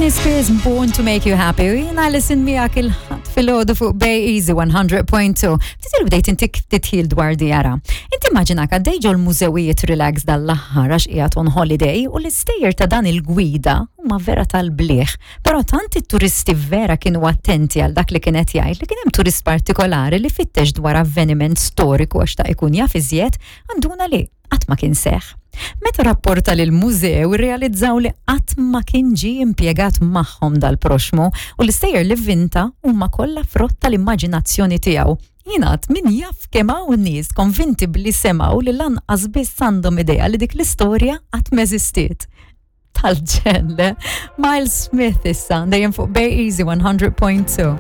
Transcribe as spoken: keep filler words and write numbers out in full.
Britney Spears, Born to Make You Happy. U jiena Alison miegħek il-Ħadd filgħodu fuq Bay Easy one hundred point two. Ftit ilu bdejt intik titħil dwar djara. Inti immaġinak għaddej ġol-mużewijiet relax dal-aħħar għax qiegħed on holiday u l-istejjer ta' dan il-gwida huma vera tal-bliħ. Però tant it-turisti vera kienu attenti għal dak li kienet jgħid li kien hemm turist partikolari li fittex dwar avveniment storiku għax ta' ikun jaf iżjed għanduna li qatt ma kien seħ. Meta rapporta lil mużew realizzaw li qatt ma kien ġi impjegat magħhom dal-proxmu u l-istejjer li vinta huma kollha frott tal-immaġinazzjoni tiegħu. Jingħad min jaf kemm hawn nies konvinti billi semgħu li lanqas biss għandhom idea li dik l-istorja qatt m'eżistiet. Tal-ġenn, le? Miles Smith issa, dejjem fuq Bay Easy one hundred point two.